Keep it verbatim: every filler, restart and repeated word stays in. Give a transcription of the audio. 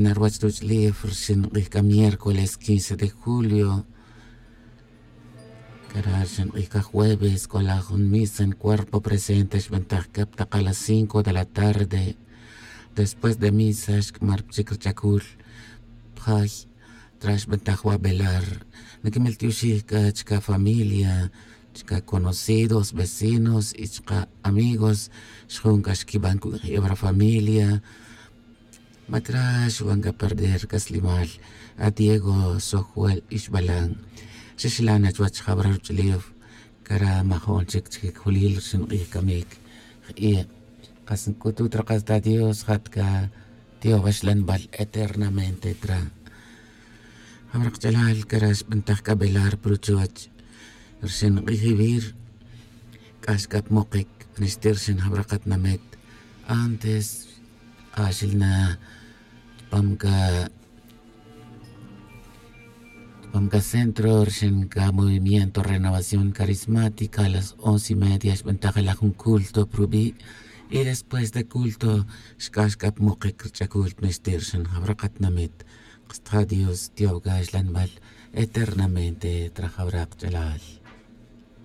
Na ruwach ruch'ulef rixin k'ij c'a miércoles quince de julio, cara rixin k'ij c'a jueves c'o la jun misa en cuerpo presente xb'antaj c'a pa taq a las cinco de la tarde. Después de misa xc'amar pa chic rich'acul pa jay. Tra xb'antaj wa' velar, niquimil tioxij c'a chica familia, chica conocidos, vecinos y chica amigos. Xjun c'a xquiban cuq'ui'ew ra familia. Ma tra xuban c'a perder c'aslimal a diego sojuel ixbalan. Xixlan chuwech jabra ruch'ulef, cara majo'n chic chiquicjulil rixin k'ij camic. Jk'iye', kas nc'utut ra kas ta dios jat c'a tiobaxlanbal eternamente tra. Jabra kach'alal cara xb'antaj c'a velar pa ruchuwech rixin k'ij ivir. C'ax c'a pa mokic pa nixti' rixin jabra katinamit. Antes k'axil na chupam c'a chupam c'a centro rixin c'a movimiento renovación carismática a las once y media xb'antaj la jun culto pa rubi'. Y después de culto xc'ax c'a pa mokic rich'acul pa nixti' rixin jabra katinamit. Kasta dios tiobaxlanbal eternamente tra jabra kach'alal.